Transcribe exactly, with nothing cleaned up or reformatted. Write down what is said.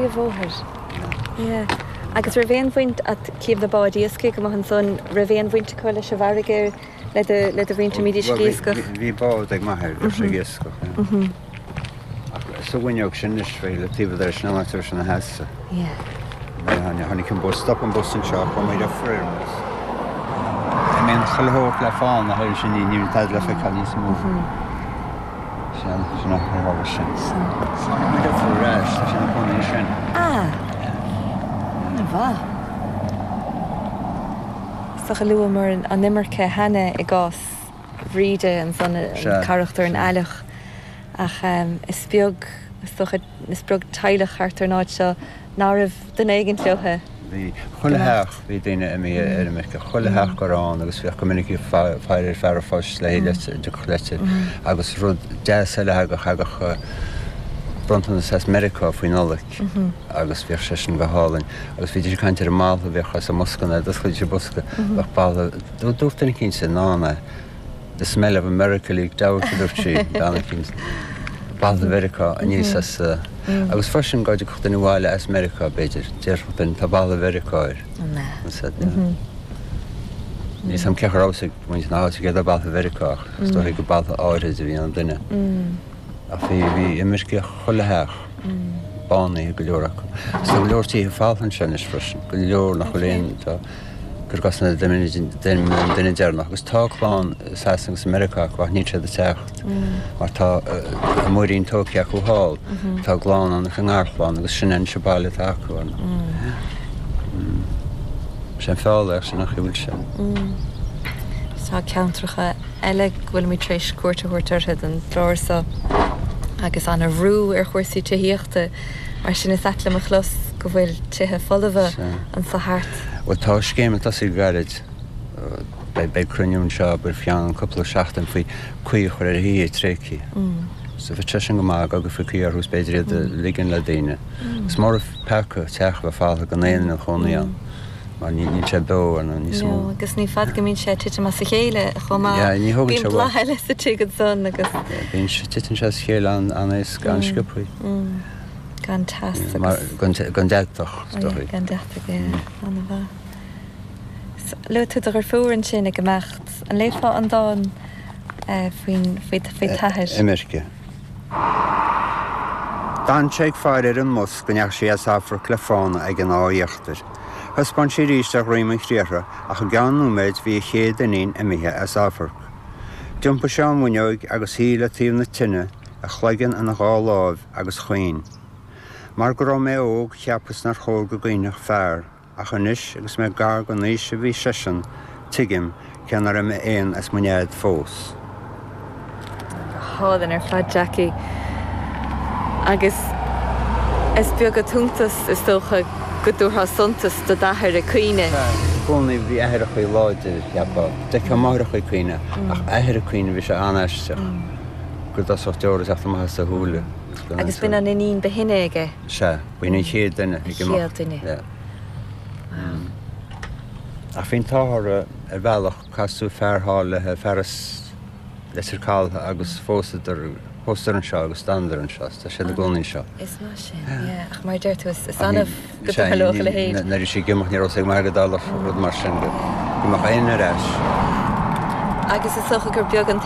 bpríomhbhóthar. Yeah. Agus raibh aon bhaint agat cím na báid iascaigh amuigh ansan, raibh aon bhaint acu leis an bhfarraige le do le do mhuintir a mbídís ag iascach? Bhí bád ag m'athair, bhíodh sé ag iascach, yeah. Ach sa bhfuinneog sin anois, bhí le taobh de sin an áit a raibh sé ina sheasamh. Yeah. Tháinig an bus, stop an bus anseo, chuaigh muid ar fuir an bus. Imíonn chuile shórt le fána thoir sin ní ní tada le feiceáil níos mó. Sin sin an tharla sin. Tháinig muid ar fuir ar ais, tá sé ina chónaí ansin. Ah! An-mhaith. Is dócha luamar an imirce cheana i gcás Bhríde ansan, an carachtar an ailleach, ach is beag, is dócha, is beag teaghlach thart ar an áit seo ná raibh duine éigint leo. Bhí. Chuile theach, bhí daoine imithe ar imirce, chuile theach go raibh ann agus bhíodh go minic ag faire ar fear an phoist le leitir, dtiocfadh leitir agus rud deas eile a thagadh, thagadh bronntanas as Meiriceá faoi Nollaig agus bhíodh sé sin go hálainn agus bhídís ag caint ar an mboladh a bhíodh as an mbosca nuair a d'osclaídís an bosca, bheadh boladh, dúirt duine eicínt i ndán é. The smell of America leaked out, a dúirt sí, bean eicínt. Boladh Mheiriceá aníos as a. Agus freisin dá dtiocfadh duine abhaile as Meiriceá, b'fhéidir, déarfadh duine, tá boladh Mheiriceá air. An ea? Níl 's a'm cén chaoi a raibh 's ag muintir na háite céard é boladh Mheiriceá ach is dóigh gur boladh áirid a bhí an duine. Ach bhí, bhí imirce chuile theach, bánaithe go leor acu. Agus tá go leor tithe folamh anseo anois freisin, go leor nach bhfuil aon, tá, gur gcás na duine duine deireanach agus tá clann i Sasana agus i Meiriceá acu ach níl siad ag teacht mar tá a muirín tógtha acu thall, tá a gclann ann agus a ngarchlann agus sin anois an baile atá acu ann. Sé an feall é ach sin an chaoi a bhfuil sé. Tá ceantracha eile go bhfuilimid tar éis cuairt a thabhairt orthu don gclár seo agus an-bhrú ar chúrsaí tithíochta, mar sin is ait liom a chlos go bhfuil tithe folmha anso thart. Bhuel tá scéim ag tosaí go gairid. Beidh cruinniú anseo faoi cheann cúpla seachtain faoi caoi a chur ar thithe tréigthe. So bheadh sé sin go maith go gcuirfí caoi orthu is b'fhéidir iad a ligean le daoine. Is mór an peaca teach a bheith folamh gan aon duine ina chónaí ann mar níl sé beo ar níos mó. No, agus ní fada go mbíonn sé ag titim as a chéile chomh maith. Yeah, ní thógann sé Bíonn boladh eile sa tigh ansan agus. Bíonn sé, titeann sé as a chéile an-éasca, an-sciobtha. Gan teas agus. Mar gan gan deatach, is dóigh. Gan deatach, yeah, an-mhaith. Luaigh tú do dheirfiúr ansin ag imeacht. An léifeá an dán faoin faoi faoi t'athair? Imirce. D'fhan sé ag faire ar an mbus go ndeachaigh sí as amharc le fána ag an áth íochtair. Thaispeáin sí arís ar dhroim an chriathraigh ach i gceann nóiméid bhí a chéad iníon imithe as amharc. D'iompaigh sé ón bhfuinneoig agus shuigh le taobh na tine, a chloigeann ina dhá láimh, agus chaoin. Mar go raibh mé óg cheapas nár chóir go gcaoinfeadh fear, ach anois agus mé gar don aois a bhí seisean, tuigim cé nár imigh éan as mo nead fós. Go hálainn ar fad, Jackie. Agus is beag an t-iontas, is dócha, go dtabharfá suntas do d'athair ag caoineadh. Sea, i gcónaí bhí aithreacha láidir, cheapfá. D'fheicfeá máithreacha ag caoineadh, ach athair ag caoineadh, bhí sé an-aisteach go dtosódh deora ag teacht amach as a shúile. Agus b'in an iníon ba shine aige? Sea, b'in an chéad duine ag imeacht. An chéad duine. Yeah. Ach bhí an t-ádh orthu ar bhealach, casadh fear thall léi, fear as Leitir Caltha agus phósadar, phósadar anseo agus d'fhanadar anseo, tá siad i gcónaí anseo. Is maith sin, yeah. Ach mar a deir tú, is annamh go dtarlódh a leithéid. Nuair a bhí sí ag imeacht ní raibh a fhios ag m'athair go dtarlódh rud mar sin, go mbeadh éinne ar ais. Agus is dócha gur beag an